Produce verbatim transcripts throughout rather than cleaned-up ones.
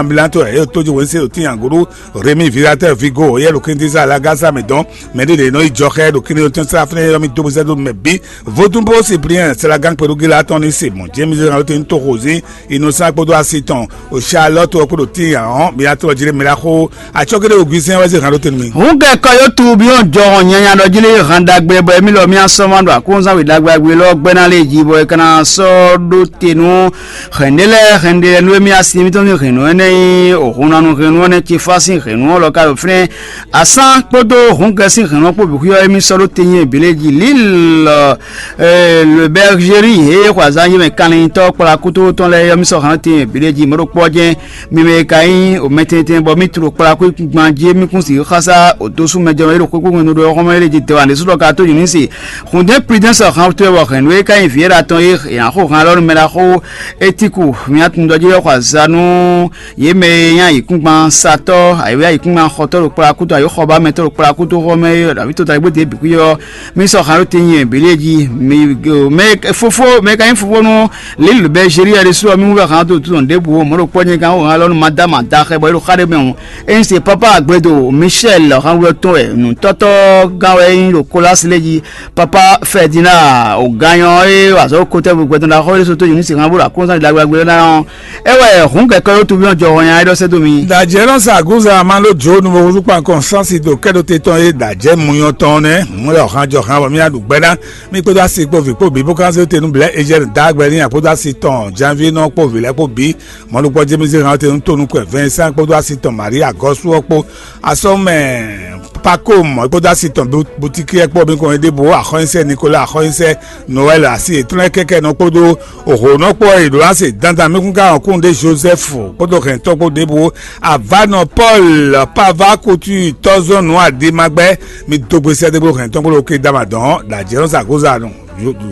Milanto ɛ yóò tójú wěnse ɖo tín agoɖó. Rémi Viratɛ Vigo yɛ ɖo kíntísá Lagasa mɛ dɔn. Mɛ ɖé ɖě nɔ yi jɔ xɛ ɖo kíní tɔn sá fúnɛ yɔ mi dó bó sɛ́ dó mɛ bí. Vodúnbó Cyprien Sɛlagán kpeɖógíla tɔn ní se mɔ̌ James Ranlóte ní toxo zín Innocent kpódó asi tɔn o Charlotte ɔ́ kpódó tín ahɔn mi atɔ jí ɖé mɛ ɖaxó. Atsɔ́ géɖé oguisɛn wɛ zé hǎn ɖó tɛn nú mi. Hǔn gɛkɔ yó tu byɔ́ jɔhɔn nyanya ɖɔ jí lé han ɖagbe bɔ émí lɔ mì asɔ́ ma ɖo akúnzán wě ɖagbe agbe lɔ gbɛ́ ná lé jí bɔ é ka ná sɔ́ ɖó te nú hɛ̌nɖé lɛ́ɛ hɛ̌nɖé lɛ́ɛ nú émí asi mítɔn ní hɛ̌nnu énɛ́ nyí òhunanu hɛ̌nnu ɔ́ nɛ́ ce fá sín hɛ̌nnu ɔ́ lɔ ka ɖo fínɛ́. Asán kpódó hǔngɛ sín hɛ̌nnu ɔ́ kpó bǐ xwíyɔ́ émí sɔ́ ɖó te nyí ebǐ lé jí Lille, euh, le Bergerie he xɔ azán yí mɛ kanlintɔ́ kplá kútó tɔn lɛ́ɛ yɔ́ mì sɔ́ hǎn te nyí ebǐ lé jí mɔ̌ ɖokpó ɔ́ jɛ́n. Mi mɛ e ka nyí o mɛtɛntɛn bɔ mí tló kplá xwé gban jí mí kún sixú xásá o dó sú mɛ jɛ mɛ ɖo xwé kúkú nu ɖo xɔmɛ lé jí dɛwa ɖésú ɖɔ ka tó nyǐ ní se. Xundé Prudence hán tó wɔ hɛn nú e ka nyí vǐ e ɖa tɔn e yě ná xo hán lɔ nú mɛ ɖaxó Etiku mía tun ɖɔ jí wɛ xɔ azá nú yě mɛ e nyí ayǐkúngban satɔ́ ayǐwé ayǐkúngban xɔtɔ́ ɖo kplá kútó ayǐ xɔbámɛtɔ́ ɖo kplá kútó xɔmɛ e ɖo avító ta gbé dě bǐ xwí ɔ́. Mí sɔ́ hǎn ɖó te nyi bǐ lé jí. Mi mɛ fofo mɛ ka nyí fofo nú Lil Bɛzeli ɛ ɖésú ɔ́, mí wú wɛ hǎn dó tɔn ɖěbǔ ó. Mɔ̌ ɖo kpɔ́ nyɛ gán wó hǎn lɔ nú Madáma daxɛ bɔ é ɖo xá ɖé mɛ hǔn. Ényí se pápá Agbledo Michel hánwlɔ́tɔn wɛ nǔtɔ́tɔ́ gán wɛ é nyí ɖo Kolasi lé jí. Pápá Fɛdina ògányɔ é wazɔ́ kótɛ́ gbɛtɔ́ ɖaxó é sótó Yunisi hán bó ɖo akɔ́nzán ɖagbe ɔ́ ná ɔ́, é wɛ hǔn kɛkɛ ɖó tuví ɔ́ jɔ hɔn nya é ɖɔ sɛ́ dó mi. Dajɛ nɔ sa agunza ma ɖo jo nu bo wúzú kpan kɔn sansi do kɛ ɖo te tɔn e dajɛ muyɔ tɔn nɛ. Mɔ lɛ ɔhan jɔ han bɔ mi aɖu gbɛ ná. Mi kpódó asi kpó vi kpó bi bó kan zé te nu blɛ ejɛn da gbɛ ní akpódó asi tɔn janvier nɔ kpó vi lɛ kpó bi. Mɔnukpɔ jɛmísí hàn te nu to nukɔn Vincent kpódó asi tɔn Maria gɔsu ɔ kpó asɔmɛ Paco mɔ kpódó asi tɔn boutique ɛ kpó mi kɔn ɖěbǔ axɔnyisɛ Nicolas axɔnyisɛ Noël asi ètúnlẹ̀ kɛkɛ nɔ kpódó òhònɔ kpó ɔyì ɖo láse dandan mi kún ká hɔn kún ɖé Joseph kpódó hɛntɔn kpó ɖěbǔ avanɔ Paul pava kutu tɔzɔn nù adimagbɛ mi dógbe sɛdégbé hɛntɔn kpó lókè dama dɔn dajɛ nɔ sa kóza nù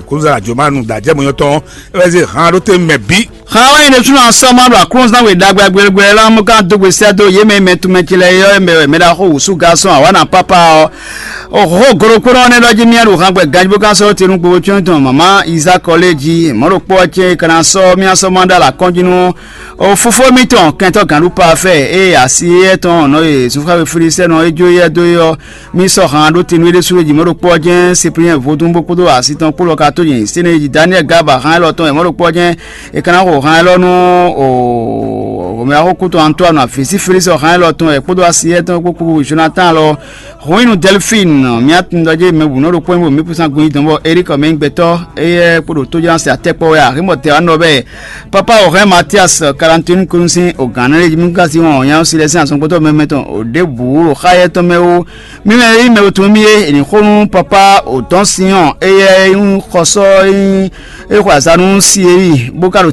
kóza jomanu dajɛ mɔnyɔtɔn ɛwɛzi hàn ɖó te mɛ bí. Xan wɛ nyí ɖésúnɔ asɔ́ ma ɖo aklúnzán we ɖagbe agbélégbé lɔ mú ká dó gbe sɛ́ dó yě mɛ mɛ tunmɛ ce lɛ́ɛ yɔ́ mɛ wɛ mɛ ɖaxó wǔsú gasɔn awǎ na pápá ɔ́. Oxó gologbónɔ ɔ́ nɛ́ ɖɔ jí mía ɖo han gbɛ ganjí bó ká sɔ́ te nú gbogbo cyɔ́n tɔn mama Izákɔ lé jí mɔ̌ ɖokpó ɔ́ cɛ́n é ka ná sɔ́ mía sɔ́ ma ɖó alɔ akɔ́njí nú o fofó mitɔn kɛntɔ́ gǎnɖúpa fɛ ée asi éyɛ́ tɔn nɔ e zunfáwe Filistɛ́nɔ é jó éyɛ́ dó é ɔ́. Mi sɔ́ han ɖó te nú é ɖésú e jǐ mɛ ɖokpó ɔ́ jɛ́n Sipliyɛ́n vodún bó kpódó asi tɔn kpó lɔ ka tó nyi Sɛ́nɛji Daniɛ́li Gaba han élɔ́ tɔn wɛ mɛ ɖokpó ɔ́ jɛ́n è ka ná xo han élɔ́ nú o mɛ axókú tɔn Antoine Afisi Felísi ɔ́ han élɔ́ tɔn wɛ kpódó asi éyɛ́ tɔn kpó kpódó Jonatán lɔ. Hɔnyínu Delphine mía tun ɖɔ jɛ mɛ bǔ nɔ ɖokpó nyí bo mǐ kún sán gun nyi dɔn bɔ Eric mɛ nyí gbɛtɔ́ éyɛ́ kpódó tójánsi atɛ́kpɔ́ wɛ aximɔ tɛ wá nɔ bɛ́. Papa Orhɛn Matias Kalantin kún sín ogǎn nɛ́ lé jí mí gán sí wɔn nyanya ɔ́ si lɛ́ sín azɔngbɔ́tɔ́ mɛmɛ tɔn ò ɖěbǔ ɖo xá éyɛ́ tɔn mɛ ó. Mí mɛ e nyí mɛ e tunwun mì é, è nǐ xo nú Papa Odɔn Sinyɔn, éyɛ́ e nyí xɔsɔ́ e nyí é xwe azǎn nú Sieli, bó ka ɖo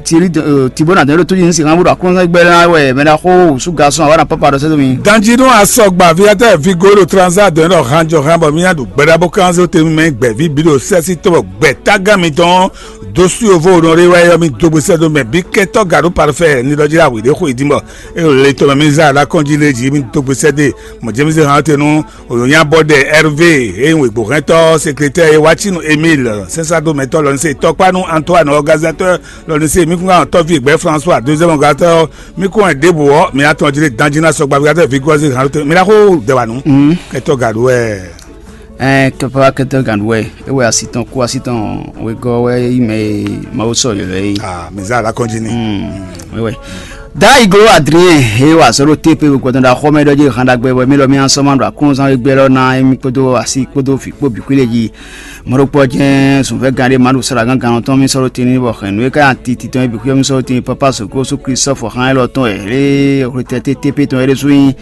Tibónadɔn e ɖo tójí ní sixan bó ɖo aklúnɔ́gbɛ́ ná wɛ mɛ ɖaxó wǔsú gasɔn awǎ ná Papa ɖɔ sɛ́ dó mi. Danjinu asɔgba viatɛ vigo ɖo transa dɔn ɖɔ hanjɔ han bɔ mí ná ɖu gbɛɖá bó kán zé te mɛ gbɛ̌ví bǐ ɖo sɛ́sí tɔn bɔ gbɛ̌tágán mitɔn dó sú yovo nɔ ɖé wɛ yɔ mì dó gbèsè dó mɛ bí kɛtɔ gǎɖó parfait ní ɖɔ jí awǐ ɖé xo yi dín bɔ é le tɔn mɛ mí zá ɖá kɔn jí lé jí mì dó gbèsè dé mɔ jɛmísé hàn te nú Onyabɔdɛ Hervé e nyí wěgbóhɛntɔ sekretɛ́ e wá cí nú Emile sɛ́nsádomɛtɔ́ lɔ ní se tɔkpá nú Antoine organisateur lɔ ní se mí kún ká tɔ́ví gbɛ́ François deuxième organisateur mí kún wɛ ɖěbǔ ɔ́ mǐ atɔn jí ɖe danjí ná sɔgba mí ká tɛ Vigɔzi hàn mi ná xó dɛwà nú kɛtɔ gǎɖó wɛ. Ɛɛ kɛpɛ kɛtɛ gǎɖó wɛ e wɛ asi tɔn kú asi tɔn wegɔ́ wɛ yi mɛ e Mawu sɔ yɔ lɛ yi. Ah, mǐ zá la kɔn jí ni. Wɛ. Da iglo Adrien he wa sɔ́ ɖo tepe gbɔdɔn ɖo axɔmɛ ɖɔ jí han ɖagbe wɛ mí lɔ mí asɔ́ ma ɖo aklúnɔzán wegbe lɔ ná émí kpódó asi kpódó vǐ kpó bǐ xwí lé jí. Mɔɖokpɔ́ jɛ́n zunvɛ́ gán ɖé ma ɖo sɔ́ ɖo agán gán tɔn mí sɔ́ ɖo tini bɔ hɛn nǔ e ka nyi ati titɔn e bǐ xwíyɔ́ mí sɔ́ ɖo tini pápá soko sú Klistɔ́fɔ xán élɔ́ tɔn wɛ lé xwetɛ́ tépé tɔn é ɖésú nyí.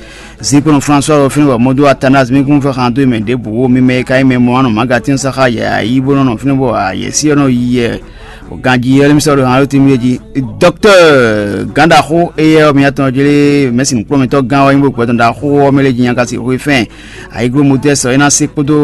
Zinkpɔ́n François ɖo fínɛ́ bɔ mɔdó Athanase mí kún fɛ́ xan dó mɛ ɖěbǔ mí mɛ e ka nyí mɛ mɔ anɔ magatín saxa yɛ ayí bó nɔ nɔ fínɛ́ bɔ ayɛ̌sí ɔ́ nɔ yi yɛ. Ganjí ɔ́, émí sɔ́ ɖo hǎn ɖó tínmú jí. Dɔktɔ́ɔ gǎnɖaxó éyɛ́ ɔ́, miatɔn jlé mɛ̌si nǔkplɔ́nmɛtɔ́ gán ɔ́ nyí bó gbɛtɔ́ ɖaxó ɔ́ mɛ lé jí nyaka si xwé fɛn. Ayǐgló Motɛ́si ɔ́, é ná se kpódó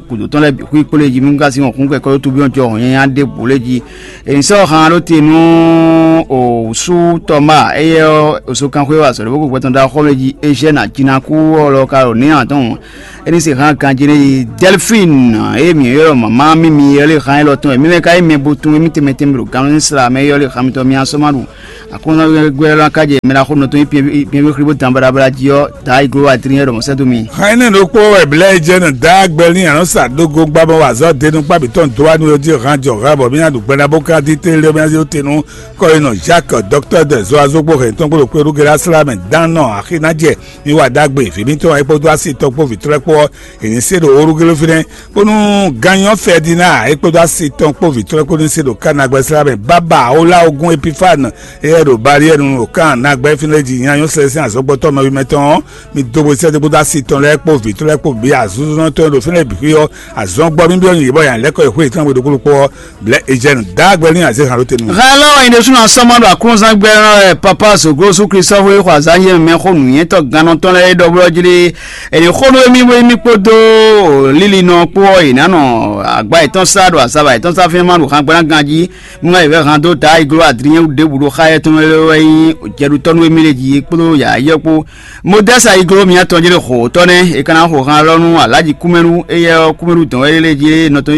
gǔdo tɔn lɛ́ɛ bǐ xwí kpó lé jí mí ka sí wɔn kún kɛkɔ́ ɖó tubí ɔ́ jɔ hɔn nyanya ɖěbǔ lé jí. È nǐ sɔ́ han ɖó te nú wǔsú Tɔmáa, éyɛ́ ɔ́, oso kanxwé wɛ azɔ̌ ɖé bó gbɛtɔ́ ɖaxó mɛ jí Ezyɛ́ni ajinakú ɔ́ lɔ ka ɖo nǐ atɔn. É ní se hán ganjí n'i Dɛlfín e mǐ ylɔ́ mama mímí ɔ́ lé hán élɔ́ tɔn wɛ mí mɛ ka ayi mɛ bo tun émí tɛnmɛ tɛnmɛ ɖo gannú sla mɛ yɔ́ lé xamitɔ mì asɔ́ ma ɖu. Aklúnɔ́gbɛ́ ɔ́ ná ká jɛ mɛ ɖaxó nɔtɔn nyí pyɛnví xlí bó dan baɖabaɖa jí ɔ́, Daá yi gló adrínnyɛ́ ɖɔ mɔ̌ sɛ́ dó mi. Hɛn énɛ́ ɖokpó wɛ blɛ́ e jɛ nɔ Daá gbɛlín a nɔ́ sa dó go gbá bɔ wa azɔ̌ denu kpá bǐ tɔn dó wá nú é jí han jɔ han bɔ mì ná ɖu gbɛɖá bó ká dí télé mì ná zé tenu kɔ́yinɔ Jacques, docteur de zoazó kpó hɛn tɔn kpó ɖo kpé ɖu gɛlá slá mɛ dán nɔ axi ná jɛ mi wa ɖagbe vǐ mǐtɔn e kpódó asi tɔn kpó vǐtrɔ́ kpó ɔ́, è nǐ se ɖo orúgélófínɛ́ bónú ganyɔ Fɛdináa e kpódó asi tɔn kpó vǐtrɔ́ kpó ní se ɖo Kana gbɛsla mɛ. Bábà Oláogún Epifáne éyɛ́ ɖo Baliɛ́nu ɖo Kan nagbɛ́ fínɛ́ jí nyanyɔ́ sɛ́ sín azɔ̌gbɔ́tɔ́ mɛwímɛtɔn ɔ́, mi dó bwesɛ́ dó kpódó asi tɔn lɛ́ɛ kpó vǐtrɔ́ lɛ́ɛ kpó bǐ azúzúnɔtɔn e ɖo fínɛ́ bǐ xwé ɔ́, azɔ̌gbɔ́ bíbí ɔ́ nyi yě bɔ yǎ lɛ́kɔ e xwé yětɔn gbe ɖokpó ɖokpó ɔ́, blɛ̌ Ejɛ́nu dǎ gbɛ ní azě han ɖó te nú mì. Hɛn lɔ ɔ́, nyɛ ɖésúnɔ asɔ́ ma ɖo aklúnɔzán gbɛ ɔ́ wɛ Papa Zogo Jezu Klísu xó e xɔ azǎn yé mɛ xó nǔnywɛ́tɔ́ gannɔ tɔn lɛ́ɛ é ɖɔ blɔ́ jí ɖé. È nǐ xó nú émí bó émí kpódó lílinɔ kpó ɔ́, è nǎ nɔ agba yětɔn sá ɖo azava yětɔn sá fínɛ́ ma ɖo hangban ganjí. Nú ayǐvɛ́ han dó ta iglo adrinyɛ́ ɖěbǔ ɖo xá yɛ́ tɔn mɛ wɛ nyí jɛɖutɔ́ nú émí lě jí kpódó yǎyɔ́ kpó. Modɛ́si ayiglo mǐtɔn jlé xo tɔ́ nɛ́, è ka ná xo han lɔ nú alǎji kúmɛɖu, éyɛ́ ɔ́ kúmɛɖu dɔn wɛ lé jí nɔ tɔn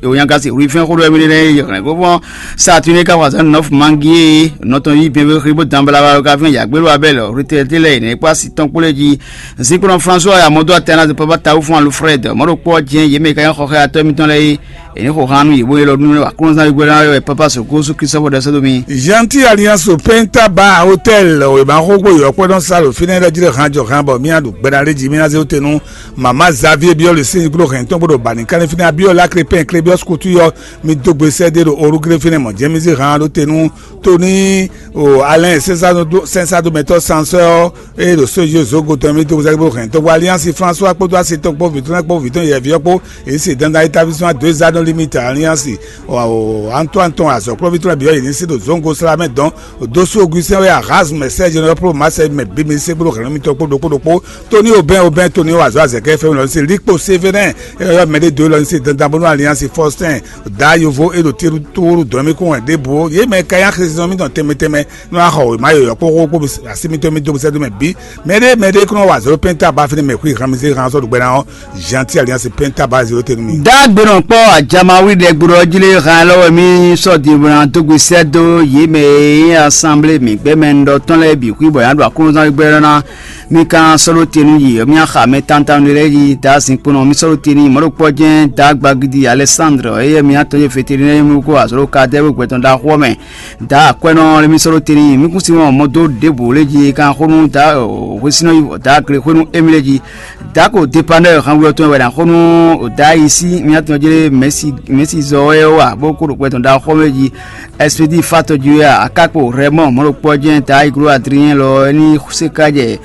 Onyagasi wlí fɛ́n xó ɖɔ émí ɖé nɛ́ yi hɛ̌n gbo fɔ́n. Saatúnɛ ka xɔ azǎn nɔ́fu mangi e nɔ tɔn yí bɛ́nbɛ́ xlí bó dan bla bla ka fɛn yǎgbélú abɛ́lɛ hlutɛ́tɛ́ lɛ́ɛ yě nɛ́ kpó asi tɔn kpó lɛ́ɛ jí. Zinkplɔ́n François ya mɔdó atɛn ná papa tawu fún Alfred mɔɖo kpɔ́ jɛ́n yě mɛ ka nyí xɔxɛ atɔ́ mitɔn lɛ́ɛ é. È nǐ xo han nú yě bó ylɔ́ nú aklúnɔzán gbígbóná wɛ papa sɔ̌ kósú Christophe ɖɔ sɛ́ dó mì. Gentil Alliance Penta Bar Hotel wěma xó gbó yɔ̌kpɔ́ nɔ sa ɖo fínɛ́ ɖɔ jí ɖɔ han jɔ han bɔ mì ná ɖu gbɛɖá lé jí mì ná zé wú te nú mama Xavier Biɔ́ le sín gblo hɛn tɔn bó ɖo bani kánní fínɛ́ Abiola Crépin Clébius Couture yɔ mi dó gbe sɛ́ dé ɖo orúgré fínɛ́ mɔ̌ jɛ́n mì zé han ɖó te nú Tony o Alain sɛnsado mɛtɔ́ sansɔ́ ɔ́ eye ɖo sójú zogo tɔn mì dó gbe sɛ́ dé bó hɛn tɔn bó Alliance François kpódó asi tɔn kpó vǐtɔ́ kpó vǐtɔ́ yɛ̌ví ɔ́ kpó èyí se dandan établissement deux ans no limite Alliance Antoine tɔn azɔ̌kplɔ́vítɔ́ lɛ́ɛ bǐ ɔ́ yě ní sí ɖo zǒngo sla mɛ dɔn. Dósú Augustin wɛ Erasme sɛ́ jɛnɛ ɔ́ pló Marseille mɛ bǐ mi sí gblo hɛ̌nnu mitɔn kpó ɖokpó ɖokpó. Tony Aubin Aubin Tony wɔ azɔ̌ azɛ̌kɛ́ fɛ́nú lɔ ní sí Likpo Sévérin e ɔ́ mɛɖé dó lɔ ní sí dandan bónú Alliance Faustin Dǎ yovo e ɖo Tilutuwulu dɔn mì kún wɛ ɖěbǔ ó. Yě mɛ ka nyí axisínɔ mitɔn tɛnmɛ tɛnmɛ nɔ wá xɔ wěma yɔ̌yɔ́ kpó xóxó kpó asi mitɔn mi dó sɛ́ dó mɛ bǐ. Mɛɖé mɛɖé kún nɔ wa zǒ pɛ́nta ba fínɛ́ mɛ xwí han mi zé han sɔ́ ɖo gbɛ ná ɔ́. Gentil Alliance pɛ́nta ba zéro tɛnmɛ mi. Dá gbenɔ kpɔ́ ajamawi ɖɛ gblɔ jí lé han lɔ wɛ mì sɔ́ din bó ná dó gbe sɛ́ dó yě mɛ e nyí assemblée mǐgbɛ́mɛ un ɖɔ tɔn lɛ́ɛ bǐ xwí bɔ yě ná ɖo aklúnɔzán gbɛ́ ná. Mì ka sɔ́ ɖó te nú yě, mì xa mɛ tantanu ɖé lɛ́ɛ yi dá zinkpo nɔ, mì sɔ́ ɖó te n'i mɔ̌ ɖo kpɔ́ jɛ́n dá gbagidi Alɛsándre, éyɛ́ mì atɔ́ e Fetelínɛ́ mì kó azɔ̌ ɖo Kadɛ́ɛ gbɛtɔn ɖaxó ɔ́ mɛ. Dá akwɛ́nɔ lɛ́ɛ mì sɔ́ ɖó te n'i, mì kún sin wɔn mɔ dó ɖěbǔ lé jí kan xó nú dá hwesínɔ yi dá gle xwé nú émí lé jí. Dá ko depanɛ́ hanwlɔ tɔn wɛ ná xó nú dá yi sí mì atɔ́ jlé mɛ̌si mɛ̌si zɔ wɛ wá bó kó ɖo gbɛtɔn ɖaxó mɛ jí. Ɛspedi fatɔ jí wɛ akákpo rɛmɔ mɔ̌ ɖo kpɔ́ jɛ́n dá yi gló adrinyɛ́ lɔ é ní sé ká jɛ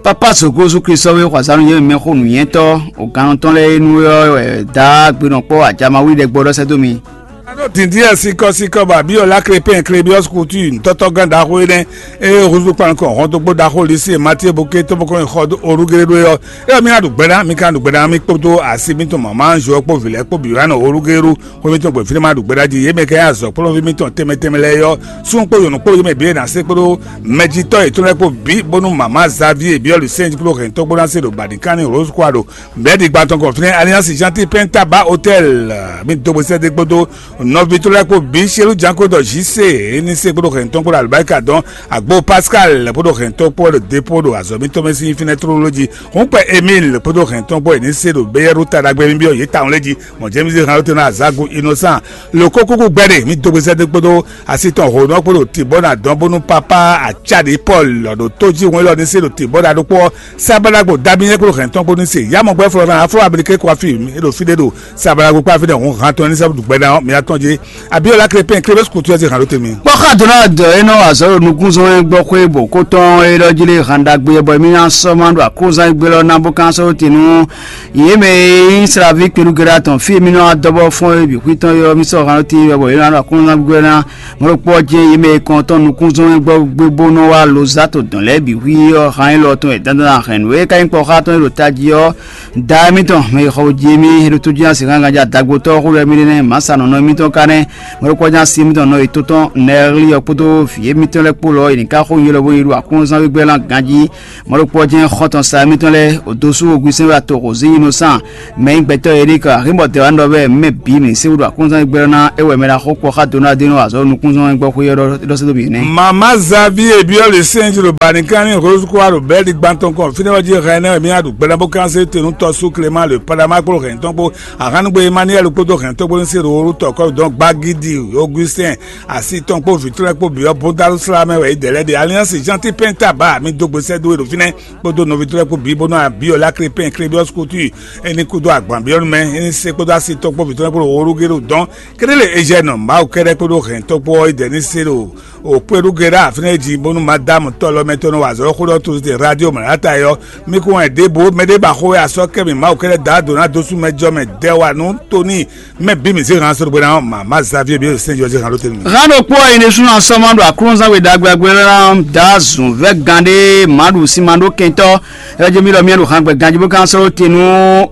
Papa Zogozu Klísu ɔ́ wɛ xɔ azǎn nú yě mɛ xó nǔnywɛ́tɔ́, o gannɔ tɔn lɛ́ɛ e nu ɔ́ wɛ dǎ gbenɔ kpɔ́ ajamawi ɖɛ gbɔ ɖɔ sɛ́ dó mi. Anɔ dǐndín sikɔsikɔ bɔ abiyɔ la krepɛn klebiɔs kutu ntɔ́tɔ́ gán ɖaxó énɛ́ eye húzú kpan nukɔn hɔn dó gbó ɖaxó lisi matie bó ké tó bó kɔn xɔ dó olúgéré ɖó é ɔ́. É ɔ́, mi ná ɖu gbɛɖá, mi ka ɖu gbɛɖá mi kpódó asi mitɔn mama Joɔ kpó vǐ lɛ́ɛ kpó bǐ wá nɔ olúgéré ɖó. Xwé mitɔn gbɔn fínɛ́ ma ɖu gbɛɖá jí yě mɛ kɛ azɔ̌ kplɔ́nví mitɔn tɛnmɛ tɛnmɛ lɛ́ɛ ɔ́, súnnu kpó yɔ̌nu kpó yě mɛ bǐ e ná se kpódó mɛjitɔ́ yětɔn lɛ́ɛ kpó bǐ bónú mama Xavier bǐ ɔ́ ɖo sɛ́n jí kpló hɛ̌ntɔ́ kpó ná se ɖo bǎɖínkánní Rose kó wa ɖo mɛ̌ɖigba tɔn kɔn fínɛ́ Alliance Gentil Pɛ́ntaba Hôtel. Mi dó bó sɛ́dé kpódó nɔví tó lɛ́ɛ kpó bǐ Shelú Janko ɖɔ Jise é ní se kpódó hɛ̌ntɔ́ kpódó alubáríkà dɔn Agbo Pascal kpódó hɛ̌ntɔ́ kpó ɖo dépó ɖo azɔ̌ mitɔn mɛ sín fínɛ́ tlóló jí. Hǔnkpɛ Emile kpódó hɛ̌ntɔ́ kpó é ní se ɖo béyɛ́ɖú taɖagbe nú byɔ́ yě tawun lɛ́ɛ jí. Mɔ̌ jɛ́mízé han ɔ́ tɛ́ ná azǎgu Innocent lo kókúkú gbɛɖe mi dó gbezɛ́dé kpódó asi tɔn hǒnɔ kpó ɖo tǐbɔ́ ná dɔn bónú pápá acáɖě Pɔ́lu lɔ ɖo tó jí hwɛ́n lɔ ní se ɖo tǐbɔ́ ná ɖokpó ɔ́, sábàlágbó Dabínyɛ́ kpó hɛn tɔn kpó ní se yá mɔ gbɛ́ flɔ́ afro américain kó afi e ɖo fí ɖé ɖo sábàlágbó kpó afi ɖé hǔn han tɔn ní sɛ́ ɖu gbɛ ná ɔ́ mi atɔn jí. Abíọ́lá Krépin Klébés kutu ɛ se hǎn ɖó te mi. Kpɔ́ xa Donald ɔ́ é nɔ wa azɔ̌ ɖo nukúnzɔ́n e gbɔ xwé bɔ kó tɔn é ɖɔ jí lé han ɖagbe bɔ mí ná sɔ́ ma ɖo akózán e gbé lɔ ná bó kán sɔ́ ɖó te nú yě mɛ e nyí Slaví kpelúgéɖá tɔn fí e mí nɔ wá dɔ́ bɔ fɔ́n é bǐ xwítɔ́n é ɔ́, mí sɔ́ han ɖó te bɔ é ná ɖo akózán gbígbó ná mɔ̌ ɖokpó ɔ́ jɛ́n yě mɛ e kɔn tɔn nukúnzɔ́n e gbɔ gbé bó nɔ wá lo zá to dɔ̌n lɛ́ɛ bǐ hwí ɔ́ han élɔ́ tɔn e dandan hɛn nǔ e ka nyí kpɔ́ xá tɔn e ɖo tají ɔ́. Da émítɔn mɛ e xɔ jí émí é ɖo tó jí ná sixú ganjí adagbotɔ́ xó ɖɔ émí ɖé nɛ́ mǎ sa nɔ̌ nɔ émí tɔn ka nɛ́. Mɔ̌ ɖokpó ɔ́ jɛ́n asi émítɔn nɔ e tó tɔn Nɛɛli ɔ́ kpódó vǐ émítɔn lɛ́ɛ kpó lɔ é ní ká xó nyi lɔ bó yi ɖo aklúnɔzán wígbɛ́ lan ganjí. Mɔ̌ ɖokpó ɔ́ jɛ́n xɔ́ntɔn sa émítɔn lɛ́ɛ Odosu Ogusɛ́n wɛ ato Hozí Inosán, mɛ nyí gbɛtɔ́ Erik Ahinbɔ Dɛwanú ɖɔ bɛ́ mɛ bǐ mǐ sé wúɖu aklúnɔzán wígbɛ́ ná é wɛ mɛ ɖaxó kpɔ́ xá Donald Denu azɔ̌ nukúnzɔ́n gbɔ xwé ɔ́ ɖɔ sɛ́ dó mǐ nɛ́. Mama Xavi e byɔ́ le sɛ́nji ɖo Banikánni Rose Croix ɖo Bɛ́li gban tɔn kɔn fínɛ́ ɔ́ jí hɛn ɛnɛ́ wɛ mí ná ɖu gbɛ́ ná bó kán sé te nú tɔ́ sú Clément le Padama kpó hɛn tɔn kpó Ahánugbé Emmanuel kpódó hɛn tɔ́gbónú se ɖo tɔkɔ dɔn gbagidi Augustin asi tɔn kpó vǐtrɔ́ kpó byɔ́ bódalú sla mɛ wɛ é dɛ lɛ́ ɖe. Alliance Gentil Penta ba mi dó gbe sɛ́ dó e ɖo fínɛ́ kpódó nɔví trɔ́ kpó bǐ bónú abíɔlá krépɛn krébiɔ́s kútú é ní kúdó agban byɔ́ nú mɛ é ní se kpódó asi tɔn kpó vǐtrɔ́ kpó ɖo orúgé ɖo dɔn. Kéɖélé Ezyɛ́nɔ Mawu kɛ́ɖɛ́ kpódó hɛn tɔn kpó ɔ́ é dɛ ní se ɖo òkpéɖúgéɖá fínɛ́ jí bónú madámu tɔ́lɔmɛ tɔn nɔ wa azɔ̌ xó ɖɔ tlozite radio mlǎta é ɔ́, mi kún wɛn ɖěbǔ mɛ ɖé ba xó wɛ asɔ́ kɛ mì Mawu kɛ́ɖɛ́ dǎ dǒ ná dó sú mɛ jɔ mɛ dɛ́ wa nú Tóni mɛ bǐ mǐ zé han sɔ́ ɖo bó ná ɔ́, mǎ Xavier bí sɛ́n jɔ zé han ɖó tɛnumɛ. Hán ɖokpó ɔ́, yi ɖésúnɔ asɔ́ ma ɖo aklúnɔzán we ɖagbe agbe lɛ́ɛ ná da zǔn vɛ́ gán ɖé mǎ ɖu sin ma ɖó kɛntɔ́. É jɛ mì ɖɔ mì ɖo han gbɛ ganjí bó ka sɔ́ ɖó te nú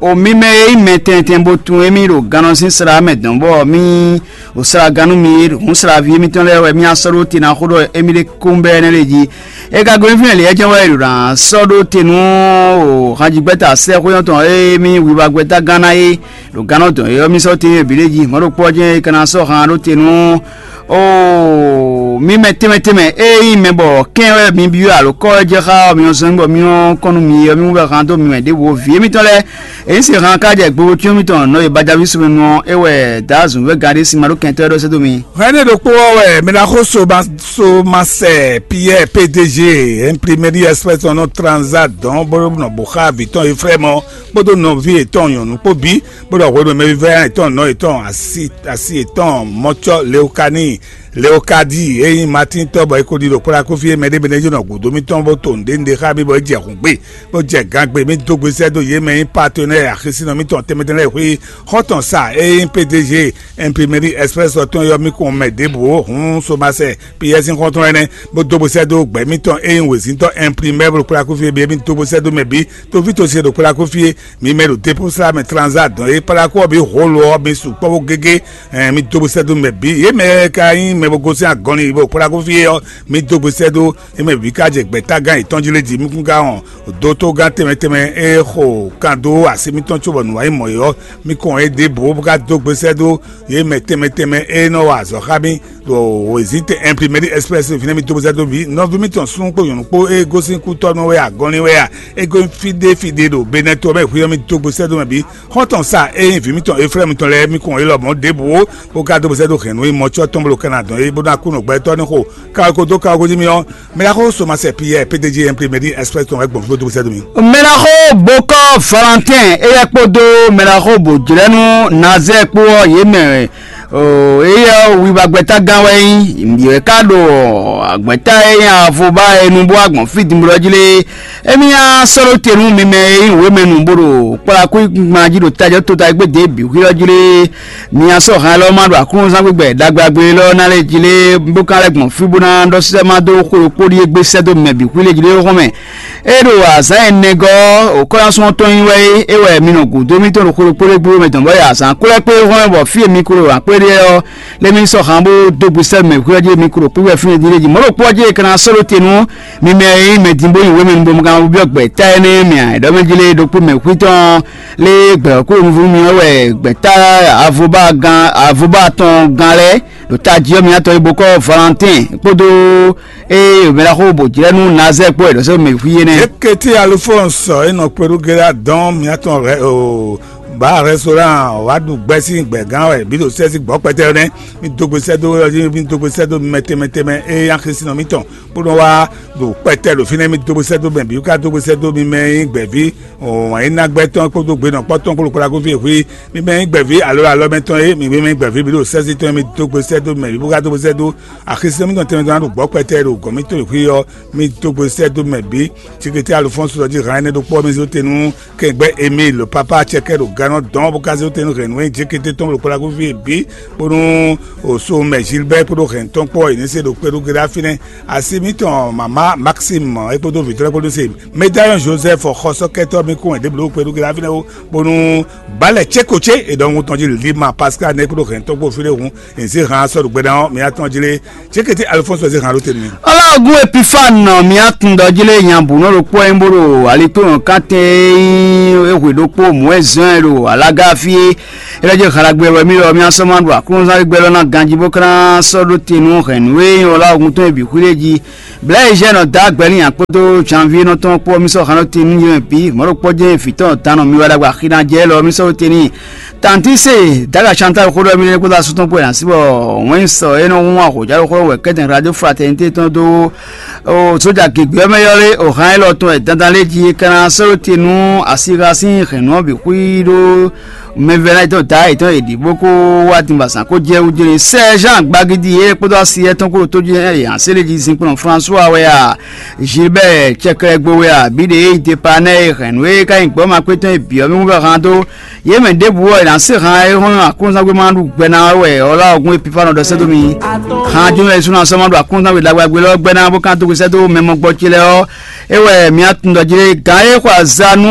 o mì mɛ e nyí mɛ tɛntɛn bó tunwun émí ɖo gannɔ sín sla mɛ dɔn bɔ mì o sla gannú mi hǔn slaví émítɔn lɛ́ɛ wɛ mì asɔ́ ɖó te ná xó ɖɔ émí ɖé kún bɛ́ énɛ́ ɖé jí. É ka gosín fínɛ́ lě é jɛ́n wɛ è ɖo ná sɔ́ ɖó te nú o hanjigbɛ́ta sɛ́xwé ɔ́ tɔn e mì wiwa gbɛ́ta gán ná é ɖo gannɔ dɔn é ɔ́, mì sɔ́ te bǐ ɖé jí. Mɔ̌ ɖokpó ɔ́ jɛ́n é ka ná sɔ́ han ɖó te nú Oo, mi mɛ tɛnmɛ tɛnmɛ e nyí mɛ bɔ kɛn wɛ mi byɔ́ alo kɔ́ wɛ jɛ xá ɔ́, mi nɔ zɔ́n bɔ mi nɔ kɔn nú mi ɔ́, mi wú wɛ han dó mi mɛ ɖěvo. Vǐ émítɔn lɛ́ɛ, è nyí se han ká jɛ gbogbo cyɔ́n mitɔn nɔ e bajaví sumɛnu ɔ́, é wɛ dǎ zǔn wɛ gǎn ɖé sin ma ɖó kɛntɔ́ ɖɔ sɛ́ dó mi. Hɛn ne ɖokpó ɔ́ wɛ mɛ ná xó so ma so ma sɛ Pierre P D G imprimeri express nɔ transa dɔn bó nɔ bó xá vǐ tɔn Efrɛ́mɔ kpódó nɔví yětɔn nyɔ̌nu kpó bǐ bó ɖɔ hwenu e mɛvívɛ́ yětɔn nɔ yětɔn asi asi yětɔn mɔcɔ Leokani Leokadi e nyí Matín tɔ́ bɔ é ko ɖi ɖo kplá kúfí e mɛ ɖé mɛ ɖé jɔ́nɔ gǔdo mitɔn bó to nǔɖé nǔɖé xá mì bɔ é jɛ hǔn gbe bó jɛ gǎn gbe. Mì dó gbe sɛ́ dó yě mɛ nyí patenɛ́ɛ axisínɔ mitɔn tɛnmɛ tɛnmɛ lɛ́ɛ xwé xɔ́ntɔn sa e nyí P D G Imprimerie Express ɔ́ tɔn yɔ mì kɔn mɛ ɖěbǔ ó. Hǔn Somasɛ Piyɛ́ɛ sín xɔ́ntɔn énɛ́ bó dó gbe sɛ́ dó gbɛ̌ mitɔn e nyí wězíntɔ́ imprimɛ́ ɖo kplá kúfí e bǐ é mì dó gbe sɛ́ dó mɛ bǐ. Toví tosí e ɖo kplá kúfí é, mi mɛ ɖo dépúsla mɛ tranzá dɔn e kpáɖákú ɔ́ bǐ holo ɔ́ mi sukpɔ́ bó gégé. Ɛn mi dó gbe sɛ́ dó mɛ bǐ. Yě mɛ e ka nyí mɛ bo gosín agɔnlin bo kpáɖákú fí é ɔ́, mi dó gbe sɛ́ dó. Yě mɛ bǐ ka jɛ gbɛ̌tágán yětɔn jí lé jí. Mi kún ka wɔn dótógán tɛnmɛ tɛnmɛ e xo kan dó así mitɔn cóbɔ nǔ wá nyí mɔ̌ é ɔ́, mi kɔn yě ɖěbǔ bó ka dó gbe sɛ́ dó yě mɛ tɛnmɛ tɛnmɛ e nɔ wa azɔ̌ xá mì ɖo wězítɛn Imprimerie Express fínɛ́. Mi dó gbe sɛ́ dó bǐ. Nɔví mitɔn súnnu kpó nyɔ̌nu kpó e gosín kútɔ́ nú wɛ agɔnlin wɛ a, é gosín fí ɖé fí ɖé ɖo Benɛ́to ɔ́ mɛ hwíyɔ́ mì dó gbe sɛ́ dó mɛ bǐ. Xɔ́ntɔn sa e nyí vǐ mitɔn Eflɛ́mu tɔn lɛ́ɛ, mi kɔn élɔ́ mɔ̌ ɖěbǔ ó, bó ka dó bó sɛ́ dó hɛ̌nnu e mɔcɔ́ tɔn bó ɖo Kanadɔn é, bó ná kú nɔ gbɛtɔ́ ní xo kaweko dó kaweko jí mì ɔ́. Mɛ ɖaxó Somasɛ Piyɛ́ɛ P D G Imprimerie Express tɔn wɛ gbɔn fí bó dó bó sɛ́ dó mì. Mɛ ɖaxó Bokɔ Valentin, éyɛ́ kpódó mɛ ɖaxó Bojlɛ́nu Nazɛ́ɛ kpó ɔ́, yě mɛ éyɛ́ wiwa gbɛ́tágán wɛ nyí. Yě ka ɖo gbɛ́tá e nyí avɔba e nu bó wá gbɔn fí dinblo ɔ́ jí lé. Émí ná sɔ́ ɖó te nú mi mɛ e nyí wěmɛnu bó ɖo kplá kúkúngban jí ɖo tajɔ̌ tota e gbé dě bǐ xwí ɔ́ jí lé. Mi ná sɔ́ han élɔ́ ma ɖo aklúnɔzán gbígbɛ ɖagbe agbe élɔ́ ná lɛ́ jí lé, bó ka lɛ́ gbɔn fí bó ná ɖɔ sísɛ́ ma dó xó ɖokpó ɖíe gbé sɛ́ dó mɛ bǐ xwí lé jí lé xɔ́mɛ. É ɖo azǎn ɛnɛgɔ́ ɔ́, òkɔ́yɔ́sɔ́ tɔn nyí wɛ é, é wɛ mi nɔ gǔdo mitɔn ɖo xó ɖokpó ɖé gbé mɛ tɔn bɔ é azǎn kwlɛ́ kpé xɔ́mɛ bɔ fí e mi ko ɖo akpé ɖé ɔ́, lé mi sɔ́ han bó dó gbe sɛ́ mɛ xwí ɔ́ jí mi ko ɖo kpíwɛ fínɛ́ jí lé jí. Mɔ̌ ɖokpó ɔ́ jí è ka ná sɔ́ ɖó te nú mi mɛ e nyí mɛ din bó nyi wěmɛ nu bó ma ka byɔ́ gbɛ ta énɛ́ mɛ ǎ. È ɖɔ mɛ jí lé ɖokpó mɛ xwítɔn lé gbɛ̌ kúɖo nuvú mi ɔ́ wɛ gbɛ̌ ta avɔba gán avɔba tɔn gán lɛ́ɛ ɖo tají ɔ́ mǐtɔn e bó kɔ́ Valentin kpódó eye mɛ ɖaxó bò jlɛ́ nú Nazɛ́ɛ kpó wɛ ɖɔ sɛ́ mɛ xwí énɛ́. Eketi Alufɔnsɔ e nɔ kpeɖu Gera dɔn mǐtɔn rɛ o ba restaurant wá ɖu gbɛ́ sín gbɛ̌gán wɛ bǐ ɖo sɛ́ sín gbɔ̌ kpɛtɛ nɛ́. Mi dó gbe sɛ́ dó mi dó gbe sɛ́ dó mɛ tɛnmɛ tɛnmɛ e axisínɔ mitɔn bó nɔ wá ɖo kpɛtɛ ɖo fínɛ́. Mi dó gbe sɛ́ dó mɛ bǐ ká dó gbe sɛ́ dó mi mɛ e nyí gbɛ̌ví wǎn yi ná gbɛ́ tɔn kpódó gbe nɔ kpɔ́ tɔn kpódó kpódó akófí e xwí. Mi mɛ e nyí gbɛ̌ví alo alɔmɛ tɔn é, mi mɛ e nyí gbɛ̌ví bǐ ɖo sɛ́sí tɔn é, mi dó gbe sɛ́ dó mɛ bǐ bó ká dó gbe sɛ́ dó axisínɔ mitɔn tɛnmɛ tɔn ná ɖo gbɔ̌ kpɛtɛ ɖo gɔ̌n mitɔn e xwí ɔ́. Mi dó gbe sɛ́ dó mɛ bǐ. Cikete Alufɔ́nsu ɖɔ jí hǎn énɛ́ ɖokpó ɔ́, mi zé te nú kɛngbɛ́ Emile ɖo pápá acɛkɛ́ ɖo ga Nɔ dɔn bó ká zé tɛnu hɛn nǔ e jékété tɔn ɖo kpɔɖaxúvi e bǐ, bónú òso mɛ Gilbert kpódó hɛn tɔn kpɔ yě ní se ɖo kpɛɖúgbe ɖá fínɛ́. Asi mǐtɔn mama Maxime é kpódó vǐtɔ́ kpódó se Médaillon Joseph xɔsɔ́kɛtɔ́ mi kún wɛ ɖěbǔ ɖo kpɛɖúgbe ɖá fínɛ́ ó, bónú balɛ céko cé e ɖɔhun tɔn jí Lima Pascal nɛ́ kpódó hɛn tɔn kpó fínɛ́ hǔn, è zé han sɔ́ ɖo gbɛɖá ɔ́ mǐ atɔn jí lé. Cékété Alphonse wɛ zé han ɖó te nú mì. Ɔlɔgun Epifane nɔ mía tun ɖɔ jí lé nya bǔ nɔ ɖokpó ɔ́ nyí bó ɖo alikpéwɔn kantɛn e hwe ɖokpó mɔ̌ wɛ zɔn ɛ ɖo alaga fí é. É lɛ́ jɛ halagbɛ wɛ mí lɔ mía sɔ́ ma ɖo aklúnɔzán gbɛ lɔ ná ganjí bó ká ná sɔ́ ɖó te nú hɛ̌nnu e nyí ɔlɔgun tɔn e bǐ xwí ɖé jí. Blɛ̌ e zɛ nɔ dó agbɛ́ n'i kpódó janvier nɔ tɔn kpó mí sɔ́ han ɖó te nú yě mɛ bǐ mɔ̌ ɖokpó jɛ́n vǐ tɔn dán nɔ mi wɛ ɖagbe axi ná jɛ lɔ mí sɔ́ ɖó te n'i. Tantise daga Chantal xó ɖɔ mí lɛ́ kpódó asú tɔn kpó yě ná sí bɔ wɛn sɔ é nɔ hún ahɔ̌jálɔxɔ wɛ kɛ́tɛn radio fraternité tɔn dó sójà gěgbé ɔ́ mɛ yɔ́ lé o hán élɔ́ tɔn wɛ dandan lé jí é ka ná sɔ́ ɖó te nú asixa sín hɛ̌nnu ɔ́ bǐ xwí ɖó mɛvɛ́ná yětɔn da yětɔn yě ɖi bó kó wá dinbazán kó jɛ wú jɛ́n sɛ́ Jean gbagidi é kpódó asi étɔn kó ɖo tó jɛ́n yě hán sélé jí zinkplɔ́n François wɛ a Gilbert cɛklɛgbo wɛ a bǐ ɖě e nyí Depanɛ e hɛ̌nnu e ka nyí gbɔ́ ma kpé tɔn e bǐ ɔ́ mɛ wú vɛ hán dó yě mɛ ɖěbǔ ɔ́, è nǎ se han e hɔn aklúnɔzán gbé ma ɖu gbɛ ná wɛ ɔ́ lá ɔ́ gún e Epifano ɖɔ sɛ́ dó mi. Han jɔnɔ e súnnu asɔ́ ma ɖu aklúnɔzán gbé ɖagbe lɔ́ gbɛ ná bó kan dó sɛ́ dó mɛ mɔgbɔ ce lɛ́ɛ ɔ́, é wɛ mǐ atun ɖɔ jí lé gǎn e xɔ aza nú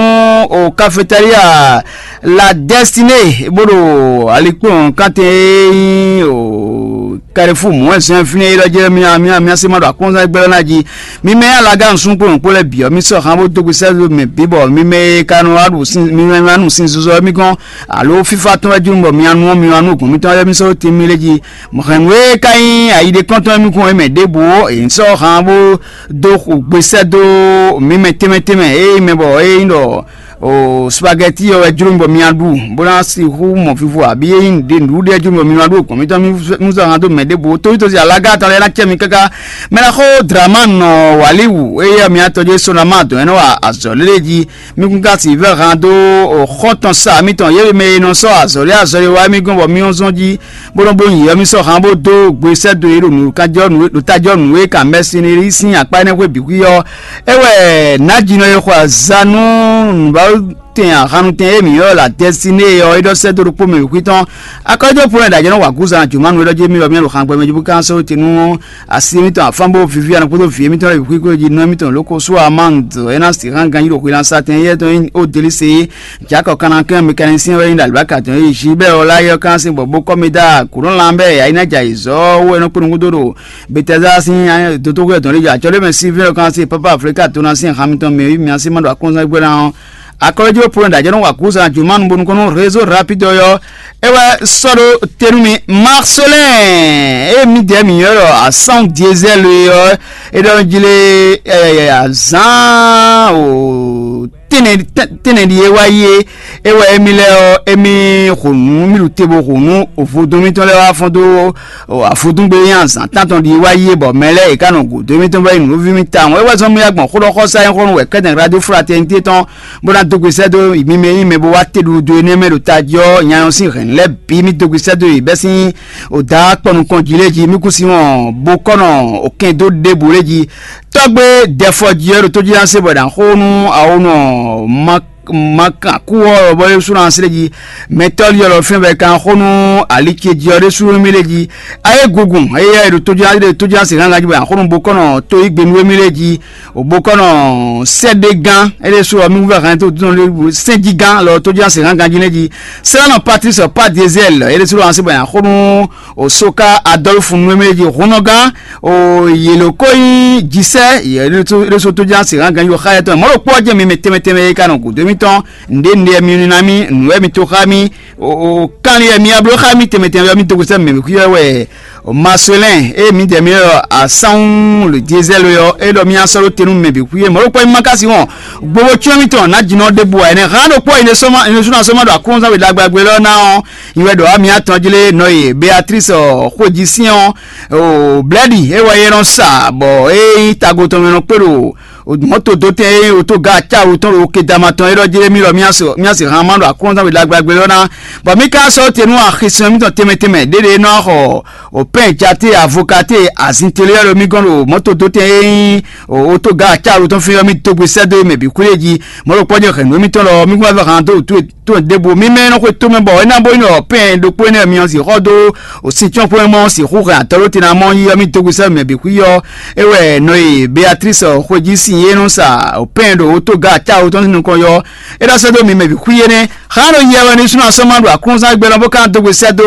o kafetália la dɛstinée bó ɖo alikpɔ́n kantɛn e nyí o Carrefour mɔ̌ wɛ zɔn fínɛ́ élɔ́ jɛ mía mía mía se ma ɖo akɔnzán gbɛ́ ná jí. Mi mɛ alaga nusúnkplɔ́nkplɔ́ lɛ́ɛ bǐ ɔ́, mi sɔ́ han bó dó gbe sɛ́ mɛ bǐ bɔ mi mɛ e ka nɔ wá ɖu sin mi mɛ wá nu sin zozɔ ɔ́ mi gɔ́n, alo fífá tɔn wɛ jló bɔ mi wá nu ɔ́ mi wá nú gǔn mitɔn wɛ mi sɔ́ dó tin mi lé jí. Hɛ̌n nǔ e ka nyí ayi ɖé kɔ́ntɔn mi kún é mɛ ɖěbǔ ó, è sɔ́ han bó dó gbe sɛ́ dó mi mɛ tɛnmɛ tɛnmɛ e mɛ bɔ é nyí ɖɔ o spaghetti ɔ́ wɛ jló mi bɔ mi ná ɖu, bó ná sixú mɔ vivo abǐ é nyí nǔɖé nǔɖuɖu e jló mi bɔ mi ná ɖu gbɔn mitɔn mi zɔ han dó mɛ ɖěbǔ tóyítɔ́ sin alága tɔn lɛ́ɛ ná cɛ mi káká. Mɛ ná xó Dramani nɔ wǎlíwǔ éyɛ́ mi atɔn jɛ sonama dɔn é nɔ wa azɔ̌ lélé jí. Mi kún ka sixú vɛ́ han dó xɔ́ntɔn sa mitɔn yě mɛ e nɔ sɔ́ azɔ̌ lé azɔ̌ e wá mi gɔ́n bɔ mi ɔ́ zɔ́n jí, bó nɔ́ bló nyǐ ɔ́ mi sɔ́ han bó dó gbe sɛ́ dó yě ɖo nǔkanjɔ́ nǔ ɖo tájɔ́ nǔ e kan mɛsinelí sín akpá énɛ́ xwé bǐ xwí ɔ́. É wɛ nǎjínɔ e xɔ azǎn nú nǔbáwú tɛn ahannutɛn e mǐ ylɔ́ la Dɛsiné ɔ́ é ɖɔ sɛ́ dó ɖokpó mɛ wěkwí tɔn. Akɔ́jɔ́ Pɔ́lɔ́ ɖo ajɔ̌ nɔ wa gǔzan jǒmanu é ɖɔ jí mì lɔ mì ɖo xangbɛ mɛ jí bó ka sɔ́ te nú asi émítɔn afán bó víví anɔ kpódó vǐ émítɔn lɛ́ɛ bǐ xwíxwí jí nú émítɔn ló ko sú amande é ná sixá ganjí ɖo xwilánsa tɛn éyɛ́ tɔn nyí Odelíse. Jakɔ kanakɛn mɛkanisín wɛ nyí ɖo alibáka tɔn e Gilbert Ọláyé ɔ́ kan sín bɔ bó kɔ́ mì dó aklǔnɔlán bɛ́ yǎyí ná jɛ ayǐzɔ́ wú é nɔ kpó nukúndó ɖo Betɛzá sín dotóxwé tɔn lé jɔ acɔ́ ɖé mɛ Silvɛ́n ɔ́ kan sín pápá Aflíka to ná sín han mitɔn mɛ wí mia sín ma ɖo akɔ́nzán gbé ná ɔ́. Akɔ́lójúwe Pɔ́lɔ́ ɖo ajɔ̌ nɔ wa kúsa jǒmanu bónú kɔn nú rézó rapide ɔ́ é wɛ sɔ́ ɖó te nú mi. Marcelin e mǐdɛɛ mǐ ylɔ́ ɖɔ asán diesel é ɔ́ é ɖɔ jí lé azán o tɛnɛ tɛnɛ ɖi é wá yi é é wɛ émí lɛ́ɛ ɔ́ émí xo nǔ mí ɖu te bó xo nú vodún mítɔn lɛ́ɛ wá fɔ́n dó afɔdúngbe nyi azǎn tántɔn ɖi wá yi é bɔ mɛ lɛ́ɛ è ká nɔ gǔdo émítɔn bɔ é nyí nǔví mì tawun é wɛ zɔ́n mì wá gbɔn xó ɖɔ xɔsá nyí xó nú wɛ kɛ́tɛn radio fraternité tɔn bó ná dó gbe sɛ́ dó mì mɛ nyí mɛ bó wá te ɖuɖu énɛ́ mɛ ɖo tají ɔ́ nyanyɔ sín hɛ̌n lɛ́ɛ bǐ mì dó gbe sɛ́ dó yě bɛ́ sín o dǎ kpɔ nukɔn jí lé jí mì kú sí wɔn bó kɔ́ nɔ o kɛn dó ɖěbǔ lé jí. Tɔ́gbé dɛfɔ jí ɔ́ ɖo tó jí ná se bɔ è nǎ xó nú awonɔ ma ma kan kú ɔ́ bɔ é sú ná slé jí. Mɛ tɔ́ ɔ́ lɔ fɛ́n bɔ è kan xó nú ali ce jí ɔ́ ɖésú émí lé jí. Ayé gungun éyɛ́ è ɖo tójúná é ɖo tójúná se gángan jí bɔ è nǎ xó nú bokɔ́nɔ tó yí gbe nú émí lé jí. Bokɔ́nɔ sɛ́ɖégán é ɖésú ɔ́ mí wúvɛ́ hɛn tó dúnɔ lé sɛ́njígán lɔ tójúná se gángan jí lé jí. Sɛ́lánɔ Patrice Padiezɛl é ɖésú lɔ hɛn sí bɔ è nǎ xó nú Osoka Adɔlfu nú émí lé jí. Hunnɔgán o yě ló kó nyí jisɛ yě ɖésú tójúná se gángan jí xá yɛtɔn mɔ̌ ɖo kpɔ́ jɛ mi mɛ tɛnmɛ tɛnmɛ é ka nɔ gǔdo émítɔn. Nǔɖé nǔɖé mi ní ná mì nǔ wɛ mi to xá mì. O kanlin wɛ mi ya bló xá mì tɛnmɛ tɛnmɛ wɛ mi dó xwé sɛ́ mɛ xwí wɛ Marcelin eye mi dɛ mi ɖɔ asánwú le diesel ɔ́ é ɖɔ mi asɔ́ ɖó tenu mɛ bǐ xwí é mɔ̌ ɖokpɔ mi ma ka si wɔn gbogbo cyɔ́n mitɔn ná jinɔ ɖěbǔ wá ɛnɛ hán ɖokpɔ yi ne sɔ́ma yi ne súnɔ sɔ́ma ɖo akúnzán we ɖagbagbé lɔ ná ɔ́ yi wɛ ɖɔ ami atɔn jí lé nɔ ye Beatrice xwéjisín ɔ́ o blɛ́ɖi é wɛ é nɔ sa bɔ é nyí tago tɔn mɛ nɔ kpé ɖo Mɔ̌to dó tɛn e wòtó ga acáwu tɔn ɖo kedama tɔn é ɖɔ jlé mì ɖɔ mì asi han ma ɖo aklúnɔzán we ɖagbe ɖagbe lɔ ná, bɔ mì ka sɔ́ te nú axisɛn mítɔn tɛnmɛ tɛnmɛ ɖéɖé nɔ xɔ o pɛn jate avokate azinteliɔ ɖo mì gɔn ɖo mɔ̌to dó tɛn e nyí wòtó ga acáwu tɔn fi ɔ́ mì dó gbe sɛ́ dó mɛ bǐ xwé jí. Mɔ̌ ɖo kpɔ́ jɛ hɛ̌nnu émítɔn lɔ mì kún wá vɛ han dó wǔtu tó ɖěbǔ mì mɛ nɔ xwé tomɛ bɔ é ná bó nyí ɖɔ pɛn ɖokpó énɛ́ myɔ sixɔ dó òsín cɔ́nxwé mɔ sixú hɛn atɔ́ ɖó te ná mɔ yí ɔ́ mì dó gbe sɛ́ mɛ bǐ xwí ɔ́. É wɛ nɔ e Beatrice xwejí sin e nɔ sa pɛn ɖo wótó ga cáwo tɔn sín nukɔn yɔ. É ɖɔ sɛ́ dó mi mɛ bǐ xwí énɛ́. Xá ɖo yɛ wɛ ní súnɔ asɔ́ ma ɖo aklúnzán gbɛ lɔ bó ka dó gbe sɛ́ dó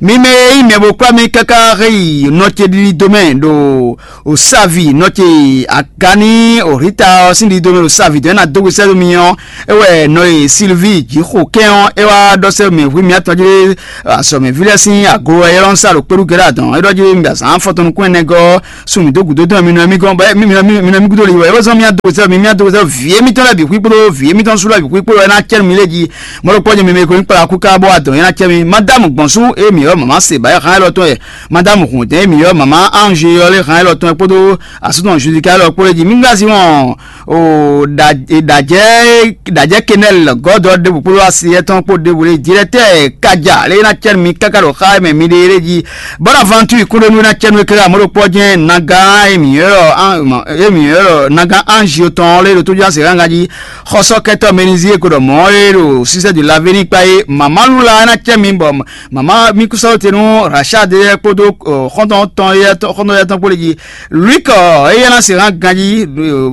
mi mɛ e nyí mɛ bó kplá mi káká hé yi nɔ ce ɖiɖi dó mɛ ɖo òsávi nɔ ce agani òhíta ɔ́ sín ɖiɖi dó mɛ ɖo sávi dɔn é ná dó gbe sɛ́ dó mi ɔ́. É wɛ nɔ e Silvi Jixo kɛn ɔ́ é wá ɖɔ sɛ́ mɛ hwí mǐtɔn jí azɔ̌mɛví lɛ́ɛ sín aglo wɛ é lɔ́ sa ɖo kpéɖu gɛ́ɖá dɔn é ɖɔ jí mi azǎn afɔtɔn nukún ɛnɛ gɔ́ sun mǐ dó gǔdo dɔn mi nɔ mì gɔ́n bɔ mi nɔ mì gúdo li wɛ é wɛ zɔn mì adó sɛ mi mì adó sɛ vǐ émítɔn lɛ́ɛ bǐ xwí kpódó vǐ émítɔn sú lɛ́ɛ bǐ xwí kpódó é ná cɛ mi lé jí mɔɖó kpɔ́ jí mi mɛ ko nyí kpala kú ká bɔ adɔn é ná cɛ mi madamu gbɔn sú é mǐ ɔ́ mama se ba é xán élɔ́ tɔn yɛ madamu hǔndɛn é mǐ ɔ́ mama ange ɔ́ lé xán élɔ́ tɔn yɛ kpódó asúnɔ Judika élɔ́ kpó lé jí mi gá sí wɔn o ɖajɛ ɖajɛ kenɛl gɔdɔ ɖebu kpódó asi etɔn kpó ɖebu lé directeur kadza lé ná cɛ mi káká ɖo xa mɛ mi ɖe lé jí bɔnavantu kúɖénu ná cɛ nu kéré amɔɖokpɔ jɛn naga emi yɔrɔ emi yɔrɔ naga anzio tɔn lé ɖo tójú asi gángan jí xɔsɔkɛtɔ menizie ko ɖɔ mɔ lé ɖo sisɛ du laveni kpa é mama lula ná cɛ mi bɔ mama mi kusɔ te nu rachad kpódó xɔntɔn tɔn yɛ tɔn kpó lé jí Luik ɔ, eye ná se hã ganjí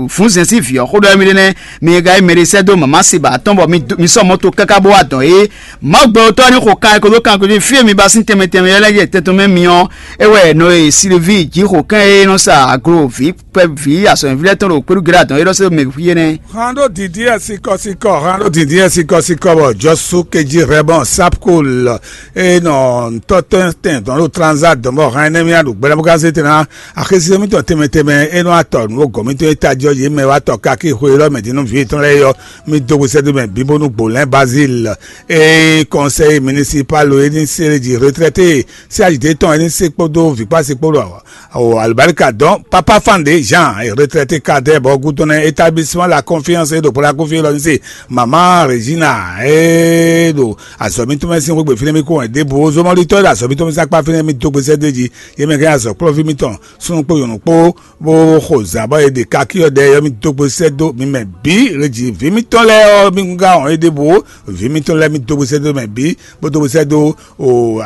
fún zɛn sín vǐ ɔ́ xó ɖɔ émí ɖé nɛ́, mi ka yi mɛɖé sɛ́ dó mama Seba tɔn bɔ mi sɔ mɔto káká bó wá dɔn é. Mawu gbɛtɔ́ ní xo kan e ko dó kan ko fí e mi ba sín tɛnmɛ tɛnmɛ lɛ́ɛ jɛ tɛn tɔn mɛ mi ɔ́, é wɛ nɔ e Silvi jí xo kɛn e nɔ sa aglo vǐ kpɛ vǐ azɔ̌mɛví lɛ́ɛ tɔn ɖo kpéɖu gɛ́ɖá dɔn é ɖɔ sɛ́ dó mɛ fí énɛ́. Hando didi ɛ sikɔ sikɔ hando didi ɛ sikɔ sikɔ bɔ jɔsu keji rɛbɔn sapkol e nɔ ntɔtɔ tɛn dɔn ɖo transa dɔn bɔ hɛn nɛ mi aɖu gbɛɖɛ bó ka se tɛn na axézé mitɔn tɛnmɛ tɛnmɛ e nɔ atɔ nǔ gɔn mitɔn e tají ɔ́ yě mɛ wá tɔ káké xwe élɔ́ mɛ dín nú vǐ yětɔn lɛ́ɛ é ɔ́, mi dó hwesɛ́dó mɛ bíbónú gbolɛ́n Bazil e kɔnsɛyi minisipal e ní se jí retraité sí ayi tɔn e ní se kpódó vǐkpásí kpódó o alibarika dɔn papa fande jean retraité kadɛ bɔ gúdɔn établissement la confiance e ɖo pɔla kófí lɔ ní se mama regina e ɖo azɔ̌ mitɔn mɛ sín xwé gbe fínɛ́ mì kó wɛn ɖěbǔ zomɔlitɔ́ e ɖo azɔ̌ mitɔn mɛ sín akpá fínɛ́ mì dó gbe sɛ́ dó jí yě mɛ kɛ́n azɔ̌ kplɔ́ví mitɔn súnnu kpó nyɔ̌nu kpó bó xo zǎn bɔ è ɖe kakí ɔ́ ɖɛ yɔ mì dó gbe sɛ́ dó mi mɛ bǐ leji vǐ mitɔn lɛ́ɛ ɔ́ mi gúngá wɔn é ɖěbǔ vǐ mitɔn lɛ́ɛ mi dó gbe sɛ́ dó mɛ bǐ bó dó gbe sɛ́ dó o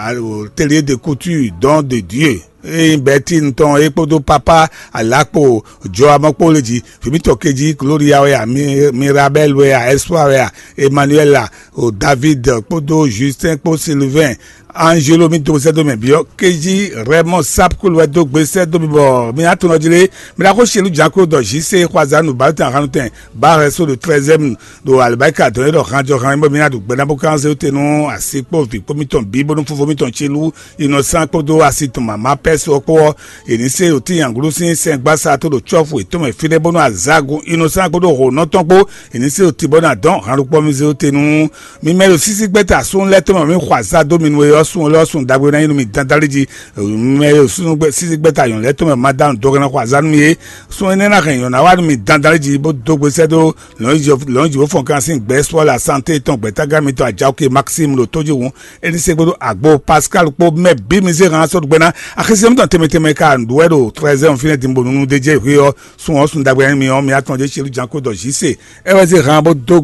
télé de couture don de dieu eye bɛtin tɔn é kpódó papa alakpo jɔ amɔkpó le jí vǐ mitɔn kejí gloria wɛ a mirabel wɛ a espoir wɛ a emmanuel a o david kpódó justin kpó sylvain angelo mi dó sɛ́ dó mɛ biɔ kejí rɛmɔ sapkul wɛ dó gbe sɛ́ dó mi bɔ mi atɔnɔ jí lé mi ɖa xó sielu janko dɔ jise xɔazanu baltan hanu tɛn ba rɛso ɖo treizième ɖo alibarika dɔn é ɖɔ hanjɔ han bɔ mi na ɖu gbɛnabó kan se te nú asi kpó vi kpó mitɔn bí bónú fofo mitɔn tsi lú innocent kpódó asi tɔn mama pɛs ɔ́ kpó ɔ́ è ní se ɖo tínyanglo sín sɛngbasa tó ɖo tsɔ́fu yětɔn mɛ fínɛ́ bónú azagun innocent kpódó hǒnɔ tɔn kpó è ní se ɖo tibɔ ná dɔn hanɖukpɔ mi zé te nú mi mɛ ɖo sísí gbɛ́ta sún lɛ́ tɔn mɛ mi xɔ azá dó mi nú é ɔ́ sun lɔ́ sun ɖagbe ná nyí nú mi dandan lé jí mi mɛ ɖo súnú sísí gbɛ́ta nyɔ̌nu lɛ́ tɔn mɛ ma dá nǔ dó gán ná xɔ azá nú mi é sun énɛ́ ná hɛn nyɔ̌nu ná wá nú mi dandan lé jí bó dó gbe sɛ́ dó lɔ̌nyijǐ bó fɔn kan sín gbɛ̌ sɔ́ la santé tɔn gbɛ̌tágán mitɔn ajaoke maxime ɖo tójihun é ní se kpódó agbo pascal kpó mɛ bǐ mi zé hàn sɔ́ ɖu gbɛ́ ná axézé mitɔn tɛnmɛ tɛnmɛ ka nǔɖuwɛ ɖo trɛzɛ́n fínɛ́ din bó nunu d'é jɛ hwé ɔ́ sun ɔ́ sun ɖagbe mi ɔ́ mi atɔn jɛ celu janko dɔ jǐ se é wɛ zé hàn bó dó